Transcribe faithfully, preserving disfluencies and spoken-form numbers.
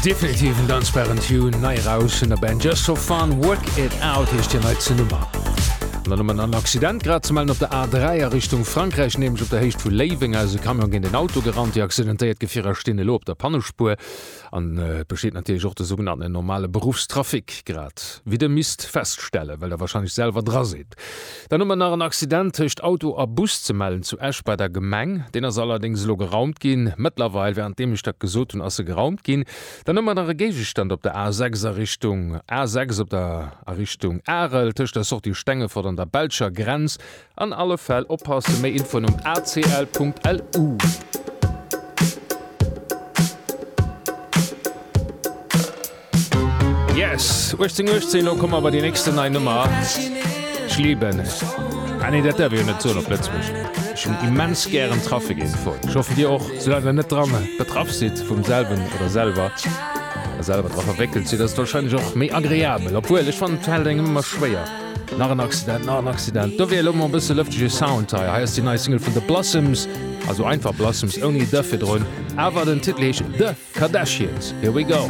Definitiv en danzbaren Tune, nei eraus vun der Band Just For Fun, Work It Out heescht hir neitste Nummer. An dann hu mer nach en Accident grad ze mellen op der A dräi a Richtung Frankräich, nämlech op der Héicht vu Léiweng ass e Camion géint en Auto gerannt. Déi accidentéiert Gefierer stinn elo op der Pannespuer an et besteet natierlech och de sougenannten normale Beruffstrafic, grad wéi der misst feststellen, well der warscheinlech selwer dra sidd. Dann hu mer nach en Accident tëscht Auto a Bus ze mellen zu Esch bei der Gemeng. Deen ass allerdéngs elo geraumt ginn. Mëttlerweil, wärenddeem ech dat gesot hunn, ass e geraumt ginn. Dann hu mer nach e Géigestand op der A sechs a Richtung A sechs op der a Richtung Arel tëscht der Sortie Stengefort an der belscher Grenz. An alle Fäll oppassen, méi Infoen um acl.lu. Yes, uechtzéng uechtzéng, elo komme mer bei déi nächsten nei Nummer. Ech lieben, ah nee, dat däerf ee jo net soen op Lëtzebuerg, ech hunn immens gären Trafic-Infoen. Ech hoffen dir och, soulaang der net dran betraff sidd vum selwen oder selwer a selwer dra verwéckelt sidd, ass et warscheinlech och méi agreabel. Obwuel, ech fannen et fält engem ëmmer schwéier. Nach en Accident, nach en Accident. Dofir elo mol e bësse lëftege Sound hei. Hei ass déi nei Single vun The Blossoms, also einfach Blossoms ouni The virdrun, awer den Titel heescht The Kardashians. Here we go.